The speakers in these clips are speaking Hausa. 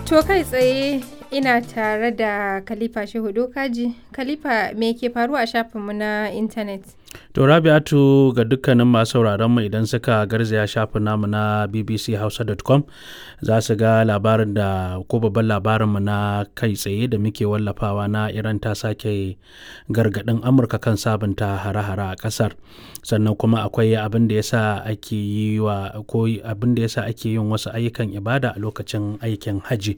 To kai tsaye ina tare da Khalifa Shehu Dokaji. Khalifa, me ke faruwa a shafinmu na intanet? To Rabi'atu, ga dukkanin masu sauraron mu, idan suka garzaya shafin namu na bbchausa.com za su ga labarin da ko babban labarin mu na kai tsaye da muke wallafawa na Iran ta sake gargadin Amurka kan sabunta hare-hare a kasar. Sannan kuma akwai abin da yasa ake yi wa ko abin da yasa ake yin wasu ayyukan ibada a lokacin aikin haji.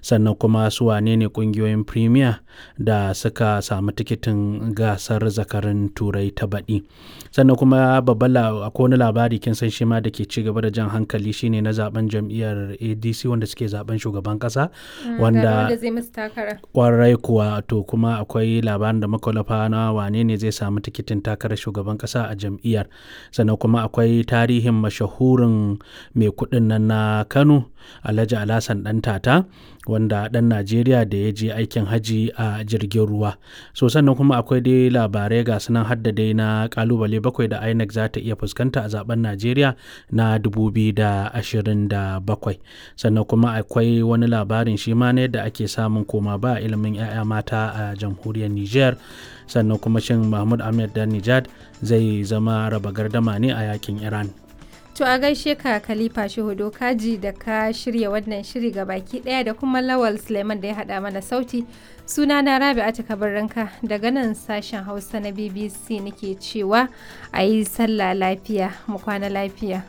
Sannan kuma su wane ne kungiyoyin Premier da suka samu tikitin gasar zakarin Turai ta baɗi. Sannan kuma babban akwai wani labari, kin san shi ma, da ke ci gaba da jan hankali, shine na zaben jam'iyyar ADC wanda suke zaben shugaban kasa. Wanda zai musu takara. Kwarai kuwa. To kuma akwai labarin da makwalafa na wane ne zai samu tikitin takarar shugaban kasa a jam'iyyar. Sannan kuma akwai tarihin mashahurin mai kuɗin nan na Kano, Alhaji Alhassan Dan Tata, wanda ɗan Najeriya da ya je aikin haji a jirgin ruwa. So sannan kuma akwai dai labarai ga sunan, hadda dai na kalubale 7 da INEC za ta iya fuskanta a zaben Najeriya na 2027. Sannan kuma akwai wani labarin shi ma ne da ake samun koma ba ilimin 'ya'ya mata a jamhuriyar Niger. Sannan kuma shin Mahmud Ahmed dan Nijad zai zama raba gardama ne a yakin Iran? To a gaishe ka Khalifa Shehu Dokaji da ka shirya wannan shiri ga baki daya, da kuma Lawal Suleiman da ya hada mana sauti. Suna na Rabi'atu Kabarranka daga nan sashen Hausa na BBC nake cewa a yi sallah lafiya, mu kwana lafiya.